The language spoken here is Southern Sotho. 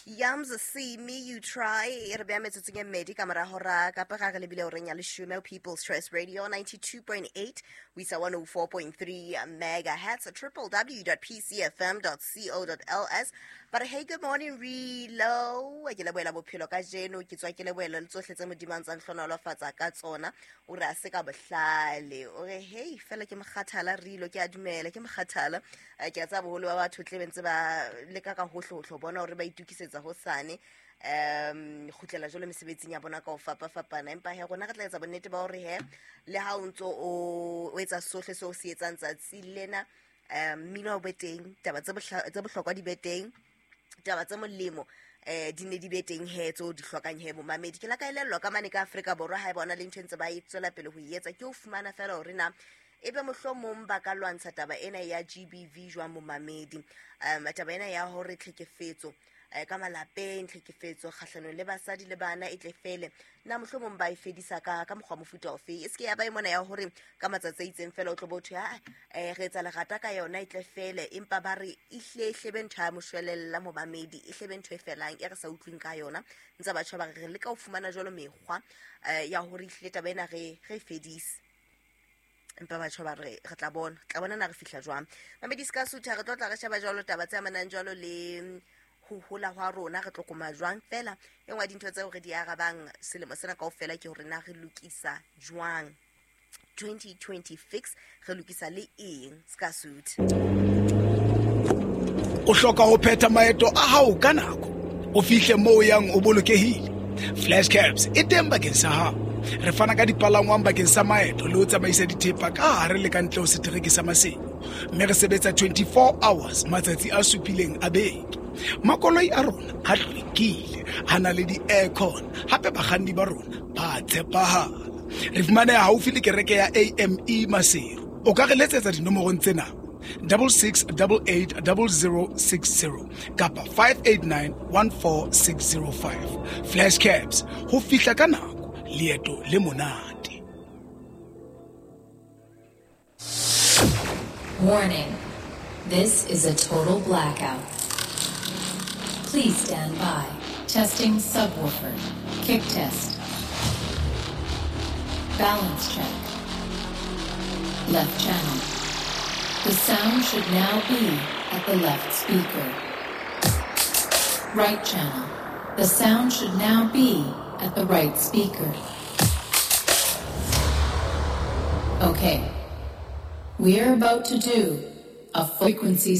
Yams See Me You Try e re beya metsotsong e mmedi ka mora hora kapa ga re lebile horeng ya leshome. People's Choice Radio 92.8 ho isa 104.3 megahertz, www.pcfm.co.ls. Ba re hey, good morning relo, ke lebohela bophelo ka jeno, ke tswa ke lebohela le tsohle tse Modimo a ntsang hlonolofatsa ka tsona. O re a se ka bohlale, o re hey fela ke mokgathala rilo, ke a dumela ke mokgathala. Ke a tseba boholo ba batho tle bentse ba leka ka hohle ho tlo bona hore ba itukisetsa hosane, kgutlela jwalo mesebetsing ya bona ka ho fapafapana. Empa he rona re tla etsa bonnete ba hore he le ha o ntso o etsa sohle seo o se etsang tsatsi lena, mmino o be teng, taba tse bohlokwa di be teng, taba tse molemo di ne di be teng he tseo di hlokang he momamedi. Ke la ka elellwa ka mane ka Afrika Borwa ha e bona le ntho e ntse ba e tswela pele ho e etsa, ke ho fumana fela hore na ebe mohlomong ba ka lwantsha taba ena ya GBV jwang momamedi. Taba ena ya hore tlhekefetso ka malapeng, tlhekefetso kgahlanong le basadi le bana e tle fele, na mohlomong ba e fedisa ka mokgwa mofuta ofe? E se ke ya ba e mona ya hore ka matsatsi a itseng fela o tlo bo thwe, "Ah, re etsa lerata ka yona e tle fele," empa ba re ehle hlebe ntho ya moshwelella momamedi, e hlebe ntho e felang e re sa utlwing ka yona. Ntse batjha ba re re leka ho fumana jwalo mekgwa ya hore ehlile taba ena re e fedise, empa batjha ba re re tla bona, tla bona na re fihla jwang. Mamedi se ka sutha, re tlo tla re sheba jwalo taba tse amanang jwalo le ho hola hwa rona, re tlo koma jwang. Fela e nngwe ya dintho tseo re di arabang selemo sena kaofela ke hore na re lokisa jwang 2026, re lokisa le eng se ka sutha. O hloka ho phetha maeto a hao ka nako, o fihle moo o yang o bolokehile. Flash Cabs e teng bakeng sa hao. Re fana ka dipalangwang bakeng sa maeto le ho tsamaisa dithepa ka hare le ka ntle ho setereke sa Maseru, mme re sebetsa 24 hours matsatsi a supileng a beke. Makoloi a rona a hlwekile, a na le di-aircon, hape bakganni ba rona ba tshepahala. Re fumaneha haufi le kereke ya AME Maseru. O ka re letsetsa dinomorong tsena: 66880060 kapa 58914605. Flash Cabs, ho fihla ka nako, leeto le monate. Warning. This is a total blackout. Please stand by. Testing subwoofer. Kick test. Balance check. Left channel. The sound should now be at the left speaker. Right channel. The sound should now be at the right speaker. Okay. We're about to do a frequency